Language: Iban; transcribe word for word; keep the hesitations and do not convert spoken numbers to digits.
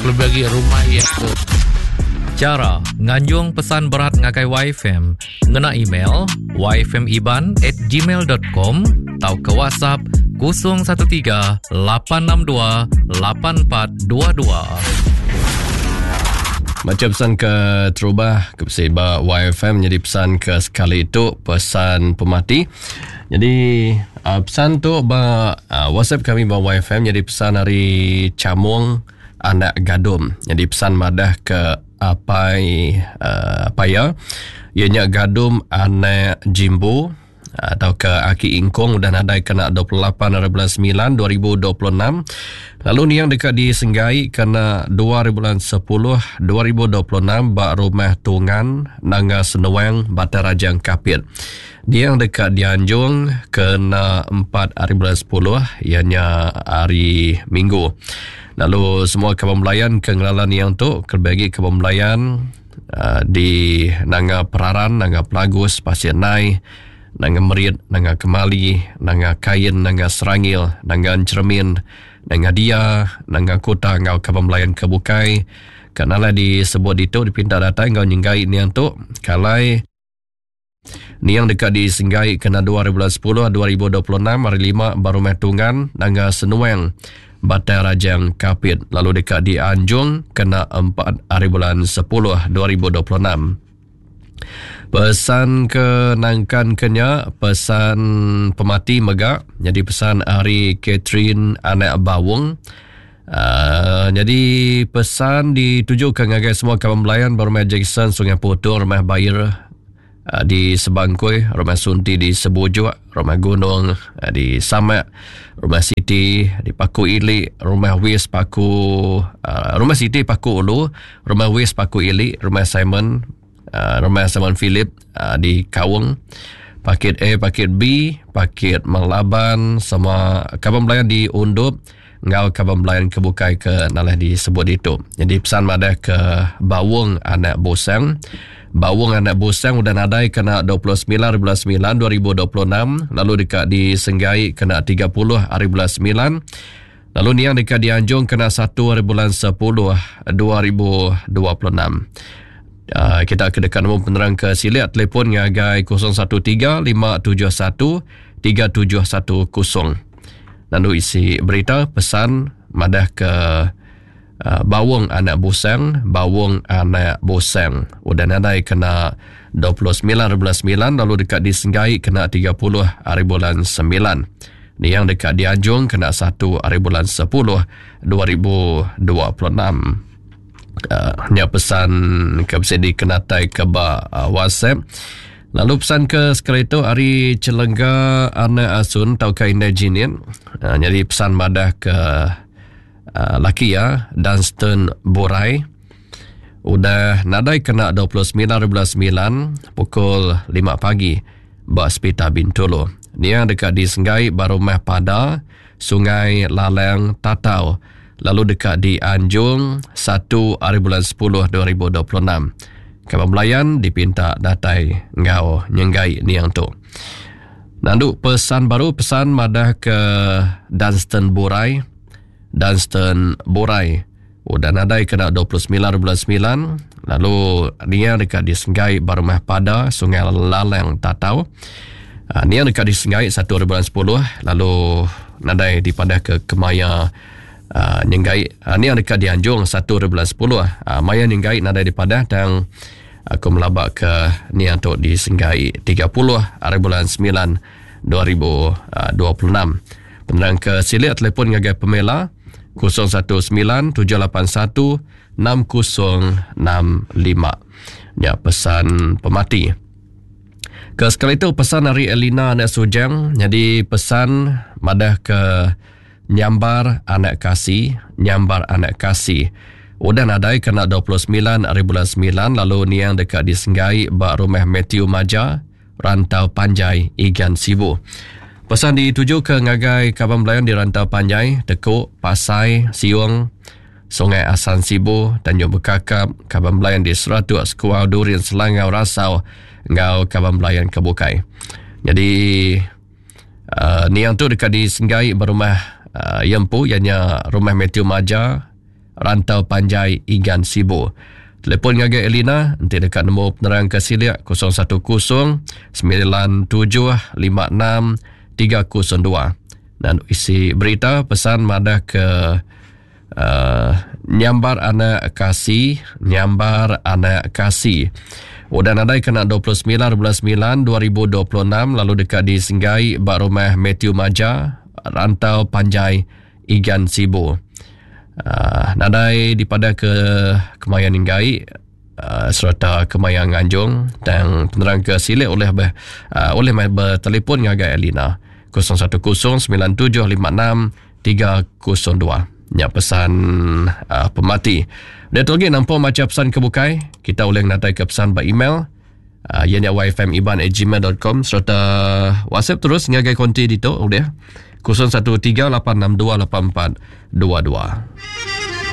Lebih lagi rumah iya tu. Chara nganjung pesan berat ngagai Y F M ngena email y f m iban at gmail dot com atau ke WhatsApp kosong satu tiga lapan enam dua lapan empat dua dua. Macam pesan ke terubah ke ba Y F M jadi pesan ke sekali itu pesan pemati. Jadi uh, pesan tu ba uh, WhatsApp kami ba Y F M jadi pesan hari Camung anak Gadum. Jadi pesan madah ke apai uh, paya ianya Gadum anak Jimbo atau ke Aki Ingkong udah nadai kena dua puluh lapan hari bulan sembilan dua ribu dua puluh enam. Lalu ni yang dekat di Senggai kena dua hari bulan sepuluh dua ribu dua puluh enam bak rumah Tungan Nanga Senuang Batai Rajang Kapit. Dia yang dekat dianjung kena empat hari bulan sepuluh ianya hari Minggu. Lalu semua kawan melayan ke ngelalan yang tu kelebih lagi kawan melayan uh, di Nanga Peraran, Nanga Pelagus, Pasir Nai, Nanga Merit, Nanga Kemali, Nanga Kain, Nanga Serangil, Nanga Cermin, Nanga Dia, Nanga Kota ngau kawan melayan ke bukai. Kenala disebut itu dipinta datang ngau nyenggai niang tu kalai niang dekat di Senggai kena dua ribu sepuluh dua ribu dua puluh enam hari lima baru Tungan Nanga Senuang Batai Rajang Kapit. Lalu dekat di Anjung kena empat hari bulan sepuluh dua ribu dua puluh enam. Pesan ke nangkan kenya pesan pemati megak jadi pesan hari Catherine anak Bawung. Uh, jadi pesan ditujukan ngagai semua kawan melayan Rumah Jackson Sungai Putung, Rumah Bayar uh, di Sebangkui, Rumah Sunti di Sebujuk, Rumah Gunung uh, di Samak, Rumah Siti di Paku Ili, Rumah Wis Paku uh, Rumah Siti Paku Ulu, Rumah Wis Paku Ili, Rumah Simon uh, Rumah Simon Philip uh, di Kawung, Paket A, Paket B, Paket Melaban, sama kawan melayan di Undup, ngau kawan melayan kebukai ke nalah disebut itu. Jadi pesan madah ke Bawung anak Bosang. Bawung anak Bosang udah nadai kena dua puluh sembilan hari bulan sembilan dua ribu dua puluh enam, lalu dekat di Senggai kena tiga puluh hari bulan sembilan, lalu niang dekat di Anjung kena satu hari bulan sepuluh dua ribu dua puluh enam. Uh, kita ke dekat nombor penerang ke siliat telefon ngagai kosong satu tiga lima tujuh satu tiga tujuh satu kosong. Lalu isi berita pesan madah ke uh, Bawung anak Bosang, Bawung anak Bosang udah nadai kena dua puluh sembilan hari bulan sembilan, lalu dekat di Senggai kena tiga puluh hari bulan sembilan. Ni yang dekat di Anjung kena satu hari bulan sepuluh dua ribu dua puluh enam. Uh, nya pesan ke bisa dikenatai ke ba, uh, WhatsApp. Lalu pesan ke sekali itu hari Celengga anak Asun tau ke Indah Jinin. Uh, jadi pesan madah ke uh, laki ya Dunstan Borai. Udah nadai kena dua puluh sembilan hari bulan sembilan pukul lima pagi ba Hospital Bintulu. Dia dekat di Senggai Barumah Pada Sungai Lalang Tatau. Lalu dekat di Anjung satu hari bulan sepuluh dua ribu dua puluh enam. Kawan melayan dipinta datai ngau nyenggai niang tu. Nandu pesan baru pesan madah ke Dunstan Borai. Dunstan Borai udah nadai kena dua puluh sembilan hari bulan sembilan, lalu niang dekat di Senggai Barumah Pada Sungai Lalang Tatau. Ha, niang dekat di Senggai satu hari bulan sepuluh, lalu nadai dipadah ke Kemaya Uh, nyenggai. Uh, ni yang dekat di Anjung satu hari bulan sepuluh. Uh, maya nyenggai nadai dipadah dan aku melabak ke ni untuk di Senggai tiga puluh hari bulan sembilan dua ribu dua puluh enam. Penerang ke silik telefon ngagai Pamela kosong satu sembilan tujuh lapan satu enam kosong enam lima. Ya pesan pemati. Ke sekali itu pesan dari Elina anak Sujang. Jadi pesan madah ke Nyambar anak kasih, Nyambar anak kasih. Udah nadai kena dua puluh sembilan hari bulan sembilan, lalu niang dekat di Senggai bak rumah Matthew Maja, Rantau Panjai, Igan Sibu. Pesan dituju ke ngagai kawan melayan di Rantau Panjai, Tekuk, Pasai, Siung, Sungai Asan Sibu, Tanjung Bekakap, kawan melayan di Seratuk, Sekuau, Durin, Selangau, Rasau, ngau kawan melayan ke Bukai. Jadi uh, niang tu dekat di Senggai berumah Uh, Yempu, ianya rumah Matthew Maja, Rantau Panjai Igan Sibu. Telefon ngagai Elina enti deka nemu penerang ke silik kosong satu kosong sembilan tujuh lima enam tiga kosong dua. Dan isi berita pesan madah ke uh, nyambar anak kasih, nyambar anak kasih. Udah nadai kena dua puluh sembilan bulan sembilan dua ribu dua puluh enam lalu dekat di Senggai ba rumah Matthew Maja, Rantau Panjai Igan Sibu. Uh, nadai dipada ke kemayan Inggai, uh, serta kemayan Nganjung dan penerang ke silik oleh ber, uh, oleh mai bertelefon ngagai Elina kosong satu kosong sembilan tujuh lima enam tiga kosong dua. Nya pesan uh, pemati. Dia tu lagi nampak macam pesan kebukai, kita boleh natai ke pesan by email uh, ianya y f m iban at gmail dot com serta WhatsApp terus ngagai konti ditu udah kosong satu tiga lapan enam dua lapan empat dua dua.